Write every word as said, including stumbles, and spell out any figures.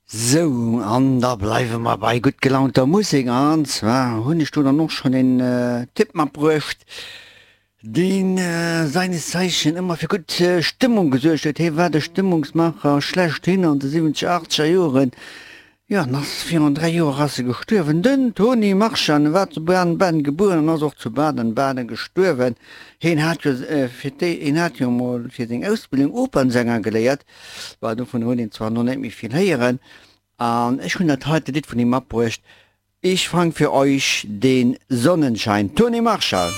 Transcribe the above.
Sou, an da bleiwe mer bei gutt gelaunter Musek. An zwar hunn ech do dann och schonn en Tipp matbruecht, deen seines Zeichen ëmmer fir gutt Stëmmung gesuergt huet. Hie war de Stëmmungsmacher schlechthin an de siwwenzeger, achtzeger Joren. Jo, an ass virun dräi Joer ass e gestuerwen. Den Tony Marchand war zu Baden-Baden gebueren an ass och zu Baden-Baden gestuerwen. Hien hat jo fir déi, hien hat jo emol fir seng Ausbildung Opernsänger geléiert. Bah, dovun huet een zwar elo net méi vill héieren. An ech hunn dat heite Lidd vun him matbruecht, Ich fang für euch den Sonnenschein. Tony Marshall.